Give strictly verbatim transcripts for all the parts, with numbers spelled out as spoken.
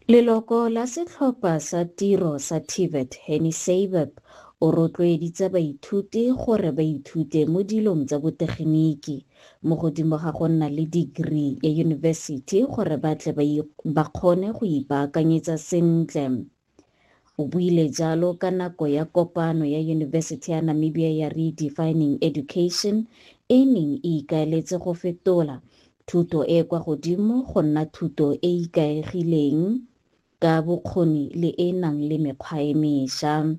Leloko la setlhopha sa tiro sa TVET Henny Seibeb o rotloeditse baithuti gore ba ithute mo dilong tsa botegeniki mo godimo ga go nna le degree ya yunibesithi gore ba tle ba kgone go ipaakanyetsa sentle. O buile jalo ka nako ya kopano ya Yunibesithi ya Namibia ya Redefining Education e neng e ikaeletse go fetola thuto e e kwa godimo go nna thuto e e ikaegileng ka bokgoni le e e nang le mekgwa e mešwa.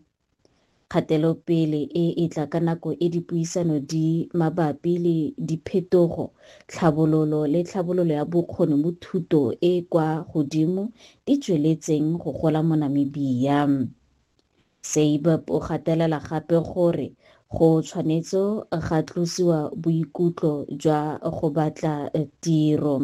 Kgatelopele e e tla ka nako e dipuisano di mabapi le diphetogo, tlhabololo le tlhabololo ya bokgoni mo thuto e e kwa godimo di tsweletseng go gola mo Namibia. Seibeb o gatelela gape gore go tshwanetse ga tlosiwa boikutlo jwa go batla tiro.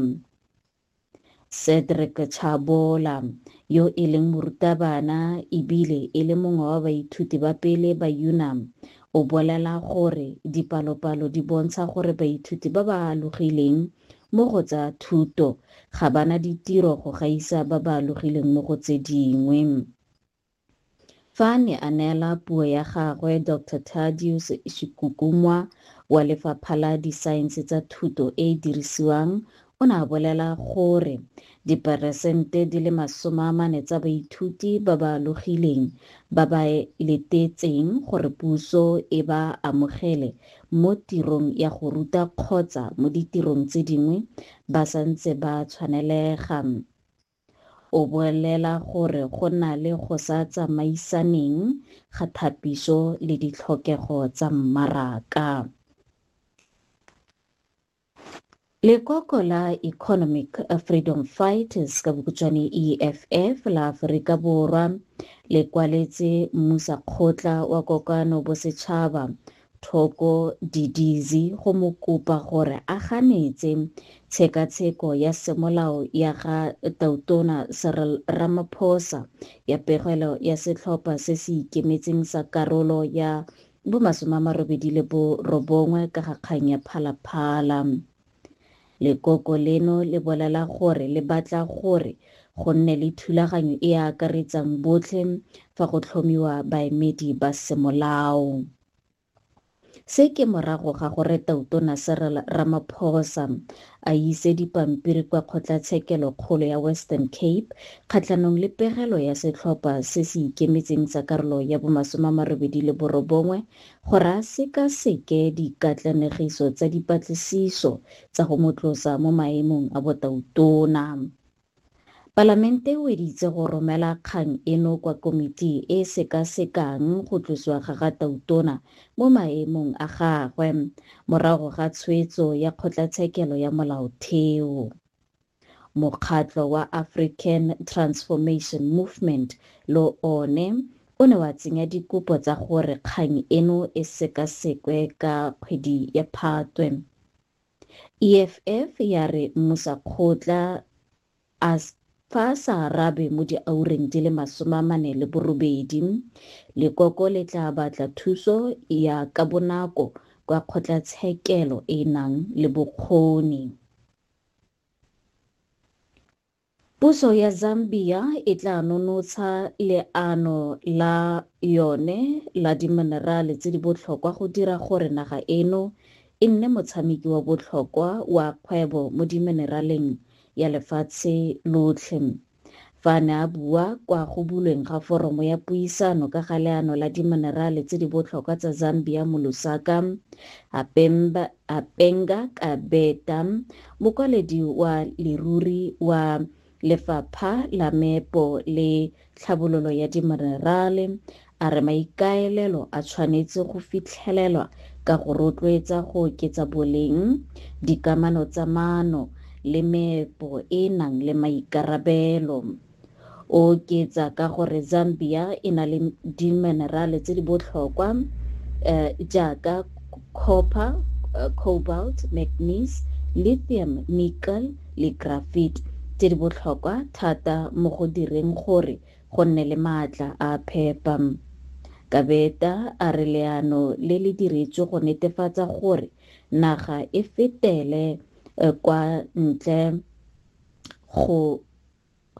Cedric Chabola, yo e leng morutabana ebile e le mongwe wa baithuti ba pele ba UNAM, o bolela gore dipalopalo di bontsha gore baithuti ba ba alogileng mo go tsa thuto ga ba na ditiro go gaisa ba ba alogileng mo go tse dingwe. Fa a ne a neela puo ya gagwe, Doctor Thaddeus Shikukumwa wa Lefapha la Disaense tsa Thuto e e Dirisiwang o ne a bolela gore diperesente di le masome a mane tsa baithuti ba ba alogileng ba ba letetseng gore puso e ba amogele mo tirong ya go ruta kgotsa mo ditirong tse dingwe ba santse ba tshwanelega. O bolela gore go na le go sa tsamaisaneng ga thapiso le ditlhokego tsa mmaraka. Lekoko la Economic Freedom Fighters ka bokhutshwane E F F la Aforika Borwa le kwaletse mmusakgotla wa Kokano Bosetšhaba Thoko Didizi go mo kopa gore a ganetse tshekatsheko ya semolao ya ga Tautona Cyril Ramaphosa ya pegelo ya setlhopha se se ikemetseng sa karolo ya bomasome a marobedi le borobongwe ka ga kgang ya Phala Phala. Lekoko leno le bolela gore le batla gore go nne le thulaganyo e e akaretsang botlhe fa go tlhomiwa baemedi ba semolao. Se ke morago ga gore Tautona Cyril Ramaphosa a ise dipampiri kwa Kgotlatshekelokgolo ya Western Cape kgatlhanong le pegelo ya setlhopha se se ikemetseng sa karolo ya bomasome a marobedi le borobongwe gore a sekaseke dikatlanegiso tsa dipatlisiso tsa go mo tlosa mo maemong a botautona. Palamente e weditse go romela kgang eno kwa komiti e e sekasekang go tlosiwa ga ga Tautona mo maemong a gagwe morago ga tshwetso ya Kgotlatshekelo ya Molaotheo. Mokgatlho wa African Transformation Movement le one o ne wa tsenya dikopo tsa gore kgang eno e sekasekwe ka kgwedi ya Phatwe. E F F ya re mmusakgotla a fa a sa arabe mo diureng di le masome a mane le borobedi, lekoko le tla batla thuso ya ka bonako kwa kgotlatshekelo e e nang le bokgoni. Puso ya Zambia e tla nonotsha leano la yone la diminerale tse di botlhokwa go dira gore naga eno e nne motshameki wa botlhokwa wa kgwebo mo dimineraleng ya lefatshe lotlhe. Fa a ne a bua kwa go bulweng ga foromo ya puisano ka ga leano la diminerale tse di botlhokwa tsa Zambia mo Lusaka, Apemba, Apenga Kabeta, mokwaledi wa leruri wa Lefapha la Meepo le Tlhabololo ya Diminerale, a re maikaelelo a tshwanetse go fitlhelelwa ka go rotloetsa go oketsa boleng, dikamano tsa maano le meepo e e nang le maikarabelo. O oketsa ka gore Zambia e na le diminerale tse di botlhokwa eh, jaaka copper, cobalt, manganese, lithium, nickel le graphite tse di botlhokwa thata mo go direng gore go nne le maatla a phepa. Kabeta a re leano le le diretswe go netefatsa gore naga e fetele kwa ntle go